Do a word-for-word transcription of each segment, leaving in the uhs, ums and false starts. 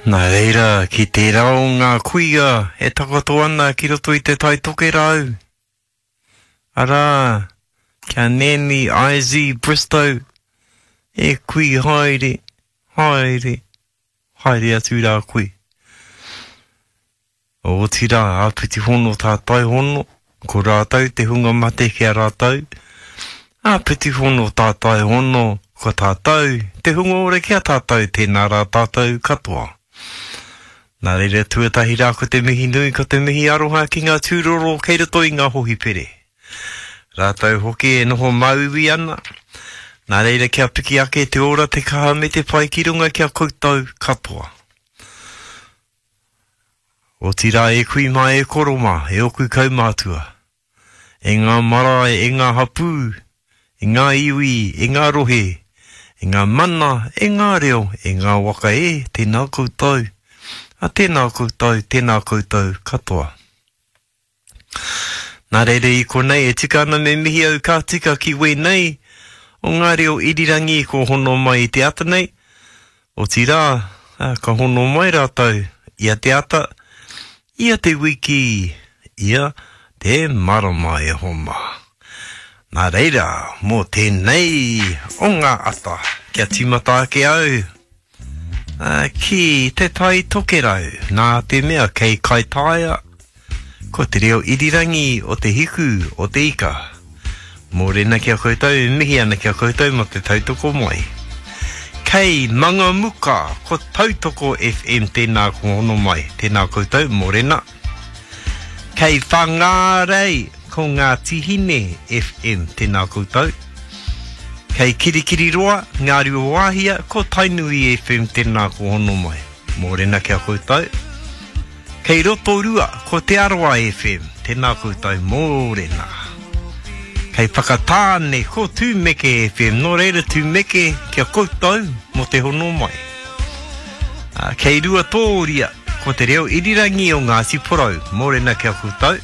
Nā reira, ki tērā o ngā kuia e takoto ana ki roto i te Tai Tokerau, arā, kia Nanny Izzy Bristow, e kui haere, haere, haere atu rā koe. Otirā, āpiti hono tātai hono, ko rātou te hunga mate ki a rātou, āpiti hono tātai hono, ko tātou, te hunga ora ki a tātou, tēnā rā tātou katoa. Nā reira tuatahi rā ko te mihi nui, ko te mihi aroha ki ngā tūroro kei roto i ngā hohipere. Rātou hoki e noho māuiui ana. Nā reira kia piki ake te ora, te kaha me te pai ki runga ki a koutou katoa. Otirā e kui mā e koro mā, e oku kaumātua. E ngā marae, e ngā hapū, e ngā iwi, e ngā rohe, e ngā mana, e ngā reo, e ngā waka e, tēnā koutou, a tēnā koutou, tēnā koutou katoa. Nā reira i konei e tika ana me mihi au ka tika ki wēnei o ngā reo irirangi ko hono mai i te ata nei, otirā, ka hono mai rātou ia te ata, ia te wiki, ia te marama e homa. Nā reira, mō tēnei o ngā ata, kia tīmata ake au ki te Tai Tokerau, nā te mea kei Kaitaia, ko te reo irirangi o te hiku o te ika. Mōrena ki a koutou, e mihi ana ki a koutou mō te tautoko mai. Kei Mangamuka, ko Tautoko F M tēnā ko hono mai, tēnā koutou, mōrena. Kei Whangārei, ko Ngāti Hine F M, tēnā koutou. Kei Kirikiriroa, Ngāruawāhia, ko Tainui F M, tēnā ko hono mai, mōrena ki a koutou. Kei Rotorua, ko Te Arawa F M, tēnā koutou, mōrena. Kei Whakatāne, ko Tūmeke F M, nō reira Tūmeke kia koutou mō te hono mai. Kei Ruatōria, ko te reo irirangi o Ngāti Porou, mōrena kia koutou.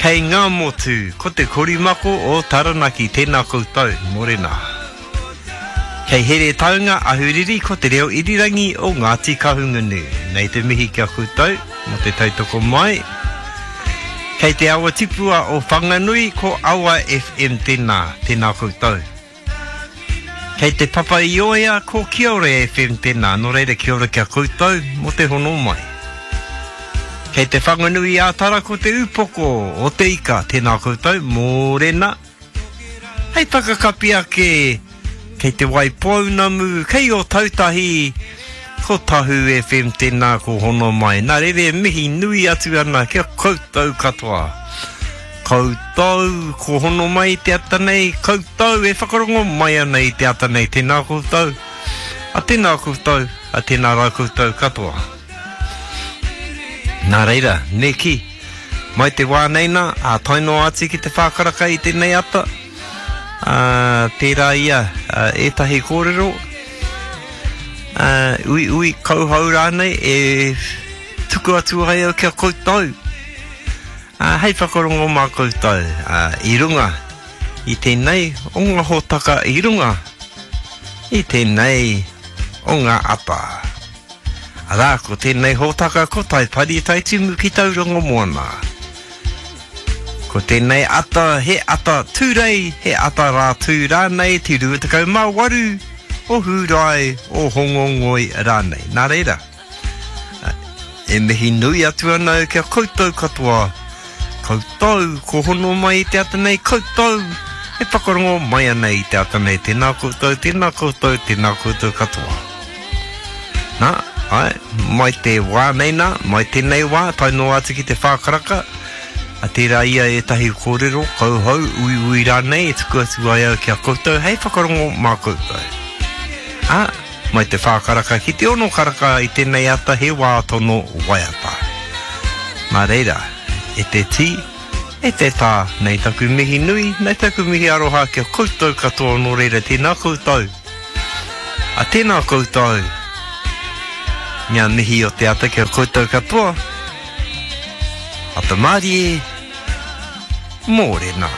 Kei Ngāmotu, ko te korimako o Taranaki, tēnā koutou, mōrena. Kei Heretaunga, Ahuriri, ko te reo irirangi o Ngāti Kahungunu. Nei te mihi kia koutou, mō te tautoko mai. Kei te awa tipua o Whanganui, ko Awa F M tēnā, tēnā koutou. Kei te Papa Ioea, ko Kiore F M tēnā, nō reira kia ora kia koutou mō te hono mai. Kei te Whanganui ā-Tara ko te upoko o te ika, tēnā koutou, mōrena. Hei whakakapi ake, kei te Waipounamu, kei Ōtautahi, ko Tahu F M tēnā ko hono mai. Nā reira e mihi nui atu ana kia koutou katoa. Koutou ko hono mai i te ata nei, koutou e whakarongo mai ana i te ata nei, tēnā koutou, a tēnā koutou, a tēnā rā koutou katoa. Nā reira, me ki, mai te wā nei nā, a tae noa atu ki te whākaraka i tēnei ata, a, tērā ia, a, ētahi kōrero, a, ui ui, kauhau rānei, e tuku atu ai au kia koutou. A, hei whakarongo mā koutou, a, i runga i tēnei o ngā hōtaka i runga i tēnei o ngā ata. Arā, ko tēnei hōtaka ko Taipari Taitimu ki Tauranga Moana. Ko tēnei ata, he ata tūrei, he ata rā tū rānei, te rua tekau mā waru o Hūrae o Hongongoi rānei. Nā reira, e mihi nui atu ana au kia koutou katoa. Koutou, ko hono mai i te ata nei, koutou, e whakarongo mai ana i te ata nei. Tēnā koutou, tēnā koutou, tēnā koutou katoa. Nā, ai, mai te wā nei nā, mai tēnei wā, tae noa atu ki te whākaraka, a tērā ia ētahi kōrero, kauhau, uiui rānei, e tuku atu ai au ki a koutou, hei whakarongo mā koutou. Ā, mai te whākaraka ki te ono karaka i tēnei ata he wā tono waiata. Nā reira, e te tī, e te tā, nei taku mihi nui, nei taku mihi aroha kia koutou katoa nō reira, tēnā koutou. A tēnā koutou, ngā mihi o te ata kia koutou katoa. Ata mārie, mōrena.